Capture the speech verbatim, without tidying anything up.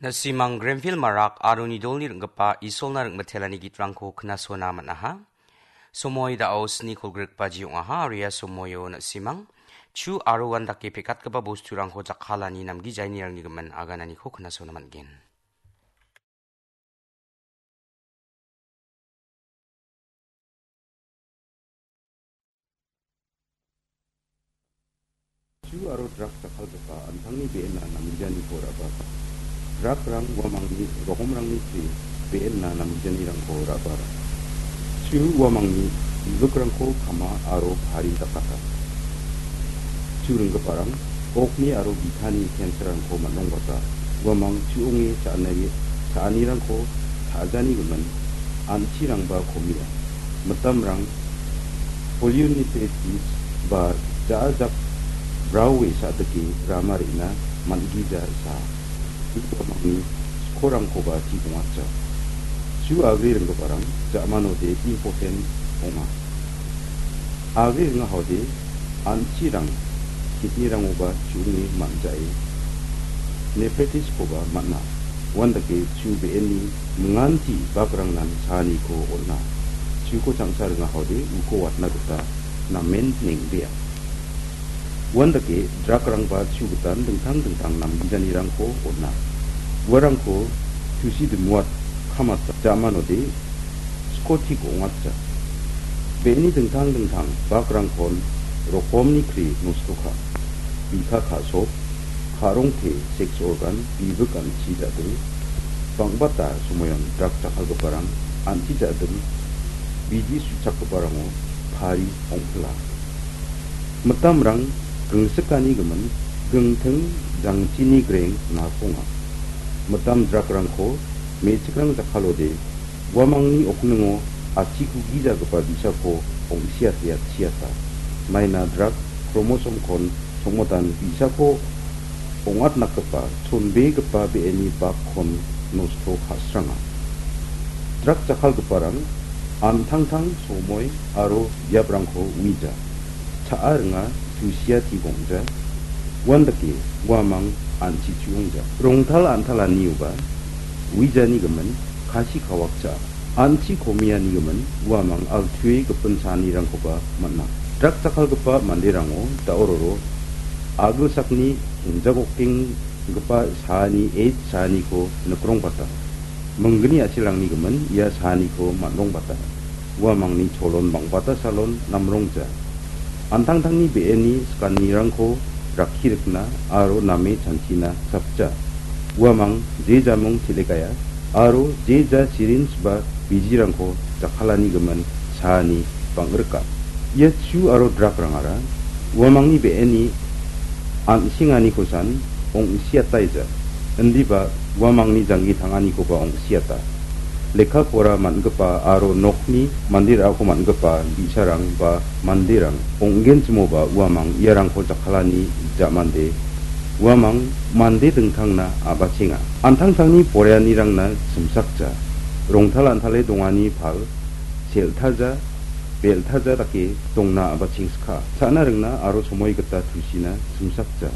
Na·simang Grenville Marak aro Nidolni ring·gipa Isolna ring·bitelani gitrangko knasona man·aha. Somoi da·o sni kolgrikbaji ong·aha, aro ia somoio na·simang chu aro uandake pekatgipa bosturangko jakkalani namgijainirangni gimin agananiko knasona man·gen. Chu aro drak jakkalgipa an·tangni be·enna namgijaniko ra·bata. Drakrang uamangni rokomrangni chi be·enna namgijanirangko ra·bara. Chu uamangni bibikrangko kama aro pari dakata. Chu ringgiparang okni aro bitani cancer-rangko man·rongbata. Uamang chu ong·e cha·ani-, cha·anirangko cha·jani gimin an·chirangba komia. Mitamrang polyunithesis ba ja·a jak braowe sa·dike rama re·na man·gija sa. Uamangni skorangkoba chi dongacha. Chu agri ringgiparang ja·manode impotent ong·a. Agri ringahode an·chirang kidney-rangoba chu·onge man·jae nephritis-koba man·a. Uandake chu be·enni minganti bakrangnan saaniko on·a. Chuko changsa ringahode uko watna gita namen neng·bea. Uandake drakrangba chu gitan dingtang dingtang namgijanirangko on·a. Uarangko tusi dimuat kamata ja·manode skotik ong·atja. Be·eni dingtang dingtang bakrangkon rokomni kri nostoka. Bika ka·sok, ka·rongte, sex organ, bibik an·chi ja·ding, bang·bata somoion drak jakkalgiparang an·chi ja·ding, bidi su·chakgiparango pari ong·pila. Mitamrang gingsikani gimin gingting jangchini greng nakonga. Mitam drakrangko me·chikrang jakkalode uamangni okningo achikugijagipa bi·sako ong·siate atchiata. Maina drak kromosom-kon songmotan bi·sako ong·atnakgipa chonbegipa be·eni bakkon nosto ka·sranga. Drak jakkalgiparang an·tangtang somoi aro biaprangko uija. Cha·a ringa tusia tigongja. Uandake uamang an·chi chu·ongja. Rongtal an·talanioba uijani gimin kasi kawakja. An·chi komiani gimin uamang altue gipin chanirangkoba man·a. Drak jakkalgipa manderango da·ororo agilsakni henjagokenggipa saani, eit saaniko nikrongbata. Minggni a·chilrangni gimin ia saaniko man·rongbata. Uamangni cholon bang·bata salon namrongja. An·tangtangni be·eni sikanirangko rakki rikna aro name chanchina sapja. Uamang je jamung chilekaia aro je ja sirinj ba bijirangko jakkalani gimin saani bang·rika. Ia chu aro drakrangara uamangni be·eni an·senganikosan ong·siataija, indiba uamangni janggi tanganikoba ong·siata. Lekka pora man·gipa aro nokni mande ra·ako man·gipa bi·sarang ba manderang ong·genchimoba uamang iarangko jakkalani ja·mande uamang mande dingtangna a·bachenga. An·tangtangni poreanirangna simsakja. Rongtal an·tale dongani pal sel·taja, bel·taja dake dongna a·bachengska. Cha·na ringna aro somoi gita tusina simsakja.